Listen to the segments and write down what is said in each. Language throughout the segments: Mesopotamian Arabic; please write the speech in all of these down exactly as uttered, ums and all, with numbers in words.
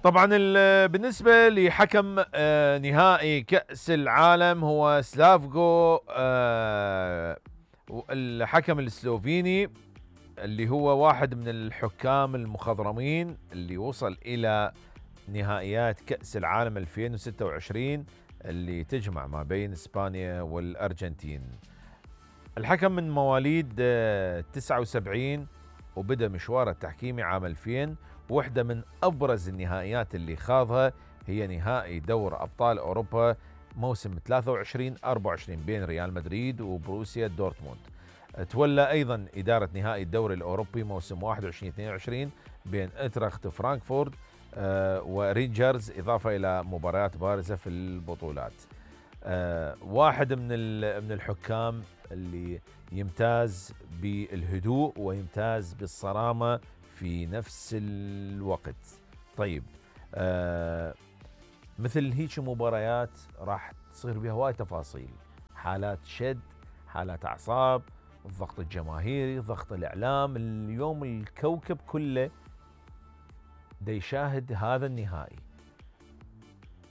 طبعا بالنسبة لحكم نهائي كأس العالم هو سلافكو، الحكم السلوفيني اللي هو واحد من الحكام المخضرمين اللي وصل إلى نهائيات كأس العالم ألفين وستة وعشرين اللي تجمع ما بين إسبانيا والأرجنتين. الحكم من مواليد تسعة وسبعين وبدأ مشواره التحكيمي عام ألفين. واحدة من أبرز النهائيات اللي خاضها هي نهائي دور أبطال أوروبا موسم ثلاثة وعشرين أربعة وعشرين بين ريال مدريد وبروسيا دورتموند. تولى أيضا إدارة نهائي الدوري الأوروبي موسم واحد وعشرين اثنين وعشرين بين إنتراخت فرانكفورت ورينجرز، إضافة إلى مباريات بارزة في البطولات. واحد من من الحكام اللي يمتاز بالهدوء ويمتاز بالصرامة في نفس الوقت. طيب آه مثل هيك مباريات راح تصير بها وايد تفاصيل، حالات شد، حالات أعصاب، الضغط الجماهيري، ضغط الإعلام. اليوم الكوكب كله دا يشاهد هذا النهائي،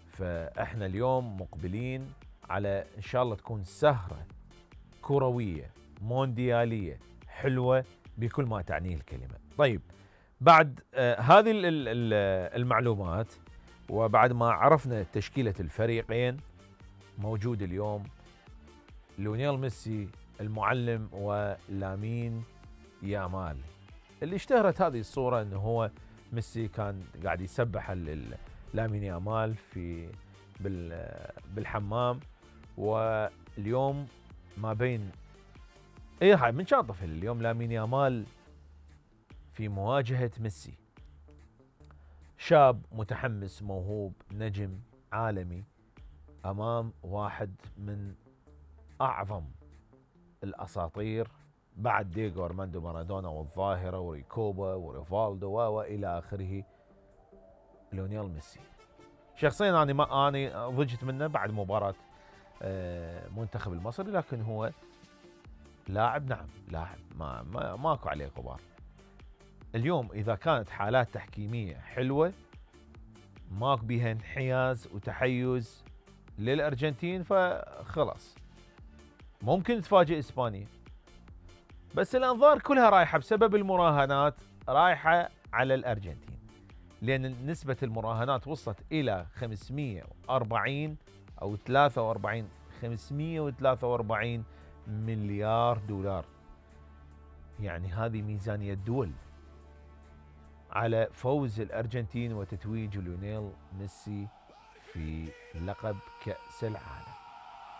فإحنا اليوم مقبلين على إن شاء الله تكون سهرة كروية مونديالية حلوة بكل ما تعنيه الكلمة. طيب بعد آه هذه المعلومات وبعد ما عرفنا تشكيلة الفريقين، موجود اليوم ليونيل ميسي المعلم ولامين يامال، اللي اشتهرت هذه الصورة انه هو ميسي كان قاعد يسبح لامين يامال في بالحمام، واليوم ما بين ايه هاي من كان طفل اليوم لامين يامال في مواجهة ميسي، شاب متحمس موهوب نجم عالمي امام واحد من اعظم الاساطير بعد دييغو ارماندو مارادونا والظاهرة وريكوبا وريفالدو والى اخره، ليونيل ميسي. شخصيا انا ما اني ضجت منه بعد مباراة منتخب المصري، لكن هو لاعب، نعم لاعب ما, ما ماكو عليه غبار. اليوم اذا كانت حالات تحكيمية حلوة ماك بيها انحياز وتحيز للأرجنتين فخلاص ممكن تفاجئ إسبانيا، بس الأنظار كلها رايحة بسبب المراهنات رايحة على الأرجنتين، لأن نسبة المراهنات وصلت إلى خمسمئة وأربعين أو ثلاثة وأربعين خمسمئة وثلاثة وأربعين مليار دولار، يعني هذه ميزانية دول على فوز الأرجنتين وتتويج ليونيل ميسي في لقب كأس العالم.